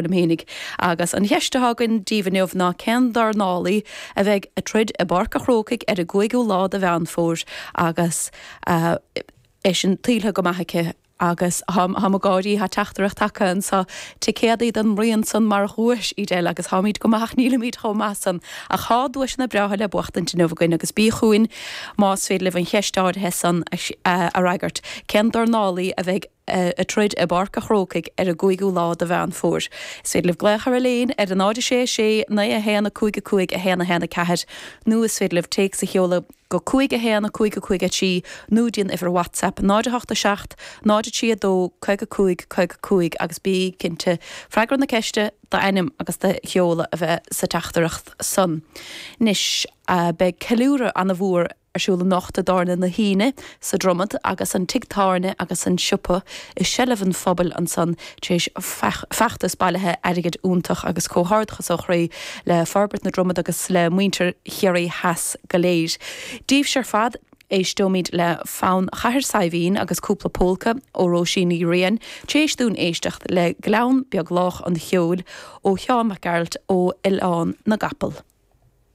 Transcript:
Liom fhéinig. Agus an cheist atá againn daoibh inniu ná cén dornálaí a bheidh ag troid i bPáirc a' Chrócaigh ar an gcúigiú lá de Mheán Fómhair agus é sin tuillthe go maith aici agus táim ag gáirí, tá teachtaireacht tagtha anso, ticéadaí don mBruíon san mar dhuais, Edel, agus táimid go maith ach nílimid chomh maith san. Ach tá duaiseanna breátha le buachtaint inniu againn agus bí chugainn más féidir libh an cheist áirithe san a fhreagairt, cén dornálaí a bheidh ag troid i bPáirc a' Chrócaigh ar an gcúigiú lá de Mheán Fómhair. Is féidir libh glaoch ar an líne ar a 0 6 6 9 1 5 5 1 1 4 nó is féidir libh téacs a sheoladh go 5 1 5 5 3 nó dtí an uimhir WhatsApp 0 8 7 0 3 2 55 55 agus bí cinnte freagra na ceiste, d'ainm agus do sheoladh a bheith sa teachtaireacht san. Anois, beidh ceiliúradh ana-mhór ar siúl anocht i dTábhairne na hAoine sa Dromad agus an tigh tábhairne agus an siopa i seilbh an phobail ansan tar éis feachtas bailithe airgid iontach agus comhghairdeachas ó chroí le Forbairt na Dromad agus le muintir Chiarraí Theas go léir. Daoibhse ar fad, éisteoimid le Fonn Chathair Saidhbhín agus Cúpla Pólca ó Róisín Ní Riain tar éis dúinn éisteacht le Gleann Beag Lách an Cheoil ó Sheán Mac Gearailt ó Oileán na gCapall.